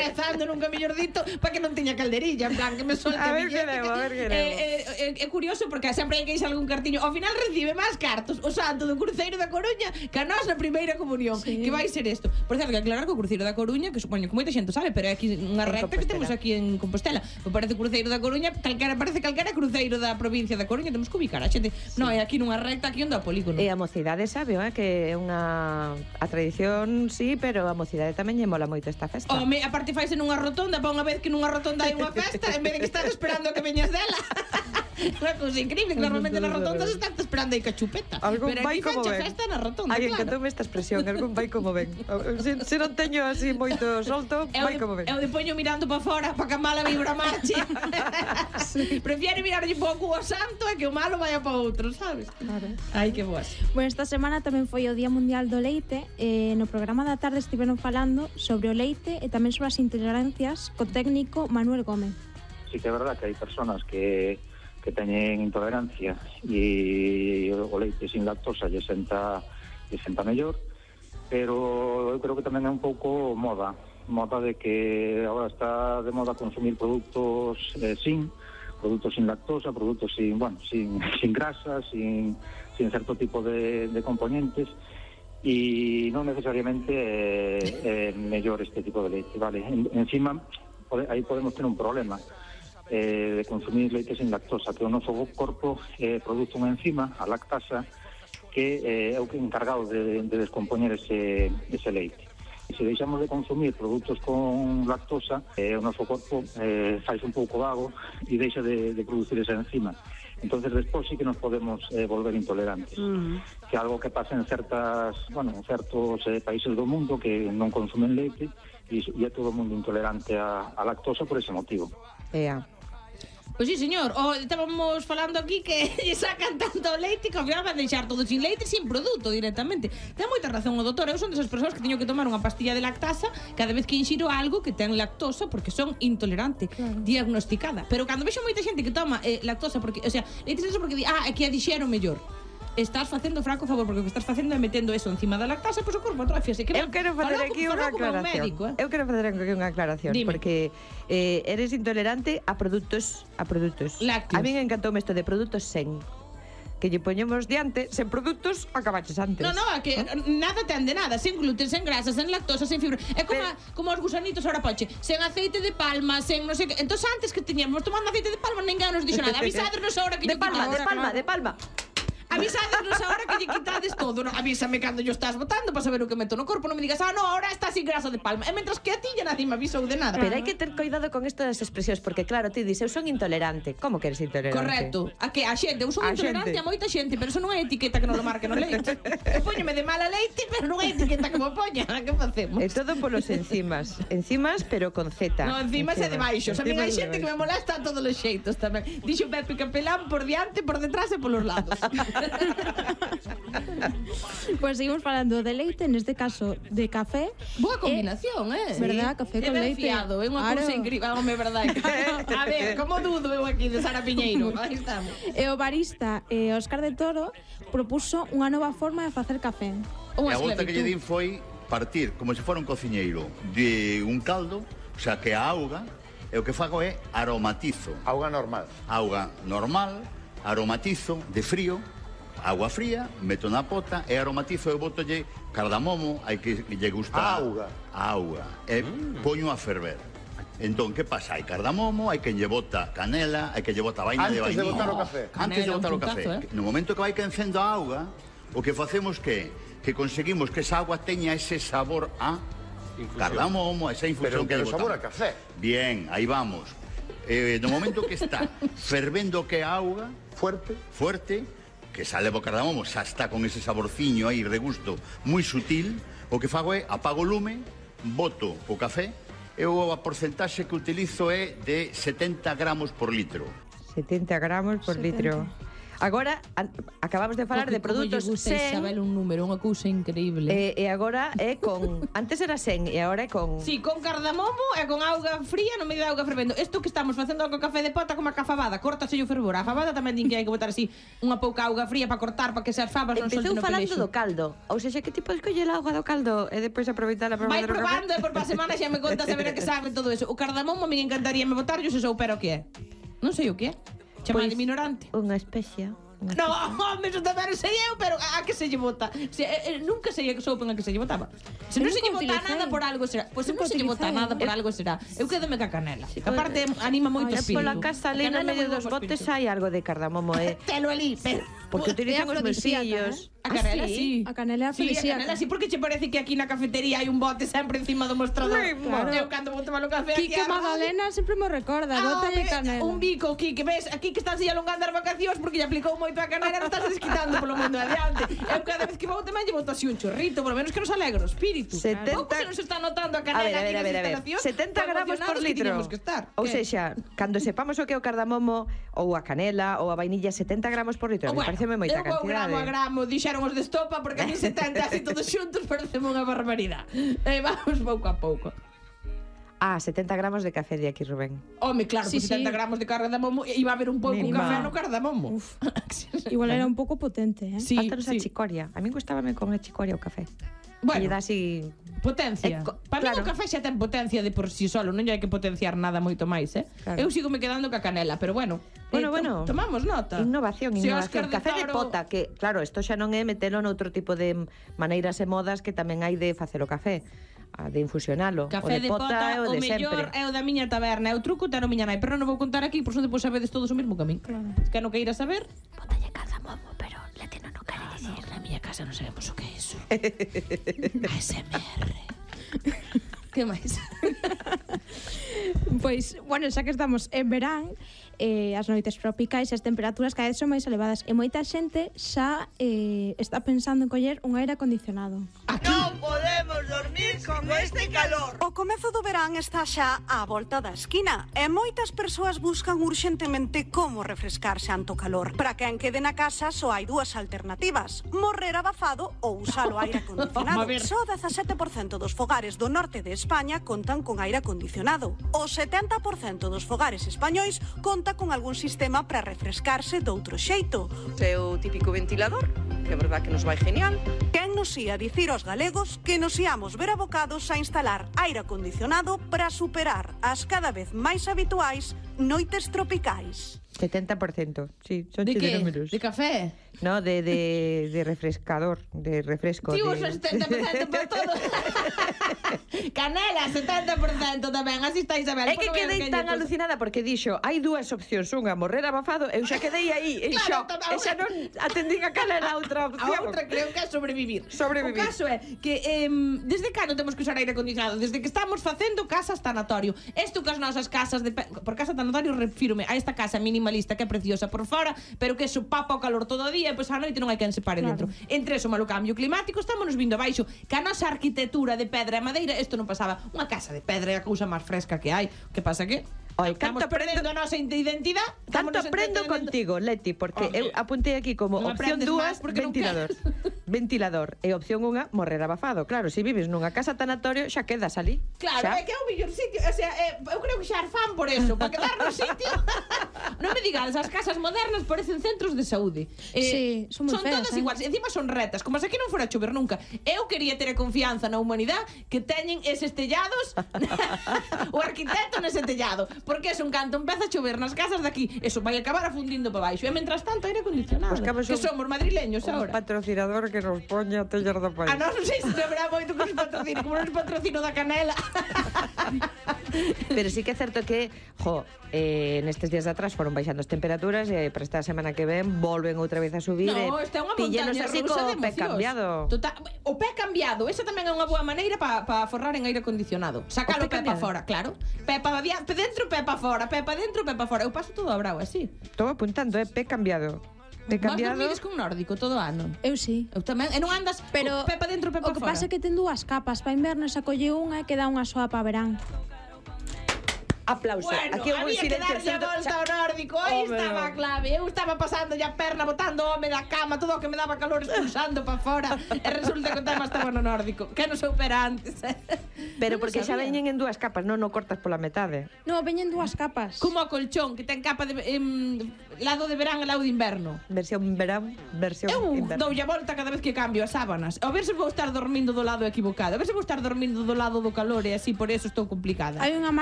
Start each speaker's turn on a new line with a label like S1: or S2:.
S1: rezando nunca mellordito para que non teña calderilla, en plan, que me solte
S2: A ver que
S1: billete.
S2: debo, a ver que debo.
S1: É curioso porque sempre hai que ir algún cartiño. Ao final recibe máis cartos o santo do Cruceiro da Coruña que a nosa primeira comunión. Que vai ser isto? Por certo, que aclarar que o Cruceiro da Coruña, que supoño que moita xente sabe, pero é aquí unha recta que temos aquí en Compostela. Me parece Cruceiro da Coruña, parece calquera cruceiro da provincia da Coruña, temos que ubicar a xente. Non, é aquí nunha recta, aquí onde o polígono.
S2: E a mocidade sabe, que é unha... A tradición, sí, pero a mocidade tamén lle mola moito esta festa.
S1: Home, a parte faise nunha rotonda, para unha vez que nunha rotonda hai unha festa, en vez de que estar esperando a que veñas dela. Unha cousa increíble, que normalmente nas rotondas estás esperando aí ca chupeta.
S2: Algún
S1: pero
S2: vai
S1: aquí
S2: como
S1: fecha
S2: ven.
S1: festa na rotonda,
S2: Ai,
S1: claro.
S2: encantoume esta expresión, algún vai como ven. Se non teño así moito solto, vai como ven.
S1: Eu de poño mirando para fora para que a mala vibra marche. Prefiere mirarlle pouco ao santo e que o malo vaya para outro, sabes?
S2: Claro.
S1: Ai, que boas.
S3: Bueno, esta semana tamén foi o Día Mundial do Leite e no programa da tarde estiveron falando sobre o leite e tamén sobre as intolerancias co técnico Manuel Gómez.
S4: Sí que é verdad que hai personas que teñen intolerancia e o leite sin lactosa lle senta mellor, pero eu creo que tamén é un pouco moda de que agora está de moda consumir produtos sin lactosa, produtos sin grasa, sin certo tipo de componentes, e non necesariamente é mellor este tipo de leite, vale? Encima, aí podemos ter un problema de consumir leite sin lactosa, que o noso corpo produce unha enzima, a lactasa, que é o encargado de descompoñer ese leite. E se deixamos de consumir produtos con lactosa, o noso corpo fai un pouco vago e deixa de producir esa enzima. Entonces despois sí que nos podemos volver intolerantes, que é algo que pasa en certos países do mundo que non consumen leite e é todo o mundo intolerante a lactosa por ese motivo.
S1: Pois sí, señor. Estábamos falando aquí que lle sacan tanto leite que ao final van deixar todo sin leite, sin produto directamente. Ten moita razón o doutor. Eu son desas persoas que teño que tomar unha pastilla de lactasa cada vez que inxiro algo que ten lactosa porque son intolerante, diagnosticada. Pero cando vexo moita xente que toma lactosa porque, o sea, leite sin lactosa porque di, é que a dixero mellor. Estás facendo fraco favor, porque o que estás facendo é metendo eso encima da lactasa, pois o corpo atrofiase.
S2: Eu quero facer aquí unha aclaración. Eu quero facer aquí unha aclaración, porque eres intolerante a produtos
S1: lácteos.
S2: A mí me encantou isto de produtos sen, que lle poñemos diante, sen produtos acabaches antes.
S1: No, que nada ten de nada, sen gluten, sen grasa, sen lactosa, sen fibra. É como os gusanitos ahora poche, sen aceite de palma, sen non sei que. Entón antes que teñamos tomando aceite de palma, ninguén nos dixo nada. Avisadnos ahora que
S2: de palma.
S1: Avisadnos ahora que lle quitades todo, no? Avísame cando yo estás botando para saber o que meto no corpo, non me digas, ahora está sin grasa de palma. E mentras que a ti ya nadie me avisou de nada.
S2: Pero hai que ter cuidado con isto das expresións, porque claro, ti dices, eu son intolerante. Como que eres intolerante?
S1: Correcto. A que a xente, eu son intolerante a moita xente, pero eso non é etiqueta que non lo marque no leite. Eu póñome de mala leite, pero non é etiqueta que me poña. Que facemos?
S2: É todo polos enzimas. Enzimas, pero con Z.
S1: No, enzimas é de baixos. A mí hai xente que me molesta a todos os xeitos tamén. Dixo Pepe Capelán por diante, por detrás e polos lados.
S3: Pues seguimos falando de leite, neste caso de café.
S1: Boa combinación,
S3: verdad, café con leite.
S1: Fiado, é unha cousa incrível, home, verdade. A ver, como dudo eu aquí de Sara Piñeiro. Aí estamos.
S3: E o barista Óscar de Toro propuso unha nova forma de facer café.
S5: E a volta que lle din foi partir como se fora un cociñeiro de un caldo, o sea, que a auga, e o que fago é aromatizo.
S6: Auga normal,
S5: aromatizo de frío, agua fría, meto na pota e aromatizo e botolle cardamomo, hai que lle gusta
S6: auga.
S5: E poño a ferver. Entón, que pasa? Hai cardamomo, hai que lle bota canela, hai que lle bota vaina de vainilla.
S6: Antes de botar o café.
S5: Antes de botar o café. No momento que vai quencendo a auga, o que facemos que conseguimos que esa agua teña ese sabor a cardamomo, esa infusión.
S6: Pero que sabor a café.
S5: Bien, aí vamos. No momento que está fervendo que a auga fuerte, que sale o cardamomo, xa está con ese saborciño aí, regusto moi sutil, o que fago é apago o lume, boto o café, e a porcentaxe que utilizo é de 70 gramos por litro.
S2: 70 gramos por litro. Agora, acabamos de falar de produtos sen.
S1: Isabel un número, unha cousa increíble.
S2: E agora é con... Antes era sen e agora é con...
S1: Sí, con cardamomo e con auga fría no medio de auga fervendo. Isto que estamos facendo co café de pota como a cafabada, córtase o fervor. A fabada tamén din que hai que botar así unha pouca auga fría para cortar, para que se as fabas non solten
S2: no pelexo. Empezou falando do caldo. Ou seja, que tipo escolle a auga do caldo e depois aproveitala para fazer o café?
S1: Vai probando e por para semana xa me contas a ver a que sabe todo eso. O cardamomo me encantaría me botar, yo se soupera o que é. Non sei o que é. Chamade ignorante.
S2: Unha especia.
S1: No, home, eso tamén sei eu, pero a que se lle bota? Nunca sei que soupen a que se lle botaba. Se non se lle bota nada por algo será. Pois se non se lle bota nada por algo será. Eu quedome ca canela. Aparte anima moito espírito.
S2: Pola casa ali no medio dos botes hai algo de cardamomo,
S1: Telo ali, pero
S2: porque utilizan os meus fillos.
S1: A canela sí.
S3: A canela afrodisíaca.
S1: Sí, a canela sí, porque che parece que aquí na cafetería hai un bote sempre encima do mostrador.
S3: Claro.
S1: Eu cando vou tomar o café aquí
S3: Quique Magdalena sempre me recorda, bótalle canela.
S1: Un bico, Quique, ves, aquí que estás aí alongando as vacacións porque lle aplicou moito a canela, non estás desquitando polo mundo adiante. Eu cada vez que vou tamén lle boto así un chorrito, polo menos que nos alegre o espírito. Pouco se nos está notando a canela aquí nas instalacións.
S2: 70 gramos por litro. Ou seja, cando sepamos o que é o cardamomo ou a canela ou a vainilla, 70 gramos por litro. Me pareceme moita cantidade.
S1: Gramo a gramo, dixeron os de estopa, porque a mí 70 así todos xuntos pareceme unha barbaridade. Vamos pouco a pouco.
S2: 70 gramos de café de aquí, Rubén.
S1: Home, claro,
S3: sí,
S1: 70 gramos de cardamomo iba a haber un pouco café no cardamomo.
S3: Igual era un pouco potente,
S1: Sí,
S2: faltanos a chicoria. A mí gustábame con a chicoria o café.
S1: Bueno,
S2: e dá así
S1: potencia. Para mí o café xa ten potencia de por si solo, non hai que potenciar nada moito máis, Claro. Eu sigo me quedando ca canela, pero bueno. Tomamos nota.
S2: Innovación. Café de pota, que claro, isto xa non é metelo noutro tipo de maneiras e modas que tamén hai de facer o café. De infusionalo.
S1: Café de pota, o mellor é o da miña taberna, é o truco tano miña nai, pero non vou contar aquí, por son depois sabedes todos o mesmo que a min.
S3: Claro.
S1: Que non queira saber,
S2: bótalle cardamomo, pero latino non quere dicir.
S1: Na miña casa non sabemos o que é iso. ASMR. Que máis?
S3: Pois, bueno, xa que estamos en verán, as noites tropicais e as temperaturas cada vez son máis elevadas e moita xente xa está pensando en coller un aire acondicionado.
S6: Non podemos dormir con este calor. O comezo do verán está xa á volta da esquina e moitas persoas buscan urxentemente como refrescarse ante o calor. Para quen quede na casa só hai dúas alternativas: morrer abafado ou usar o aire acondicionado. Só 17% dos fogares do norte de España contan con aire acondicionado. O 70% dos fogares españois conta con algún sistema para refrescarse doutro xeito.
S7: É o típico ventilador, que é verdad que nos vai genial.
S6: Quen nos ia dicir aos galegos que nos íamos ver abocados a instalar aire acondicionado para superar as cada vez máis habituais noites tropicais?
S2: 70%, sí, son
S1: de que?
S2: números.
S1: De café?
S2: No, de refrescador, de refresco.
S1: Tío, uso 70% para todo. Canela, 70% tamén, así está Isabel.
S2: É que quedei tan alucinada porque dixo, hai dúas opcións, unha morrer abafado, eu xa quedei aí en shock, e xa non atendín a canela a outra opción.
S1: A outra creo que é sobrevivir.
S2: Sobrevivir.
S1: O caso é que desde cando temos que usar aire acondicionado? Desde que estamos facendo casas tanatorio. Isto que as nosas casas por casa tanatorio refírome a esta casa minimalista que é preciosa por fora, pero que sopapa o calor todo o día e pois a noite non hai quen se pare dentro. Entre eso, malo cambio climático, estamos vindo abaixo. Que a nosa arquitectura de pedra e madeira, isto non pasaba. Unha casa de pedra é a cousa máis fresca que hai. Que pasa que estamos perdendo a nosa identidade.
S2: Tanto aprendo contigo, Leti, porque eu apuntei aquí como opción 2, ventilador. Ventilador. E opción 1, morrer abafado. Claro, se vives nunha casa tanatorio, xa quedas ali.
S1: Claro, é que é o mellor sitio. O sea, eu creo que xa er fan por eso, para quedar no sitio. Non me digades, as casas modernas parecen centros de saúde.
S3: Sí, son moi feas,
S1: todas iguais, encima son retas, como se aquí non fora a chover nunca. Eu quería ter a confianza na humanidade que teñen eses tellados o arquitecto nese tellado, porque es un canto empeza a chover nas casas de aquí, eso vai acabar afundindo para baixo, e mentras tanto aire acondicionado.
S2: Pues
S1: que somos madrileños agora.
S2: Un patrocinador que nos poña a tellar do país.
S1: Non sei se haberá moito que nos patrocine, como nos patrocino da canela.
S2: Pero sí que é certo que, nestes días de atrás foron baixando as temperaturas e para esta semana que ven volven outra vez a subir.
S1: No, esta é unha montaña
S2: así
S1: rusa de
S2: co pé cambiado.
S1: O pé cambiado, esa tamén é unha boa maneira para forrar en aire acondicionado. Sacalo pé para fora, claro. Pé para dentro, pé para fora, pé para dentro, pé para fora. Eu paso todo a bravo así.
S2: Estou apuntando, pé cambiado. Pé cambiado.
S1: Vos dormides con nórdico todo ano?
S3: Eu sí.
S1: Eu tamén, e non andas
S3: pero
S1: pé para dentro, pé para fora.
S3: O que pasa é que ten dúas capas, para inverno xa colle unha e queda unha soa para verán.
S2: Aplauso.
S1: Bueno,
S2: Aquí
S1: había que darlle a volta ao nórdico. Aí estaba a clave. Eu estaba pasando a perna, botando o home da cama, todo o que me daba calor expulsando para fora. E resulta que o tema estaba no nórdico. Que non soupera antes.
S2: Pero porque xa veñen en dúas capas, non cortas pola metade.
S3: No, veñen dúas capas.
S1: Como o colchón, que ten capa de lado de verán e lado de inverno.
S2: Versión verán, versión
S1: Eu
S2: inverno.
S1: doulle a volta cada vez que cambio as sábanas. A ver se vou estar dormindo do lado equivocado. A ver se vou estar dormindo do lado do calor e así por eso estou complicada.
S3: Hai unha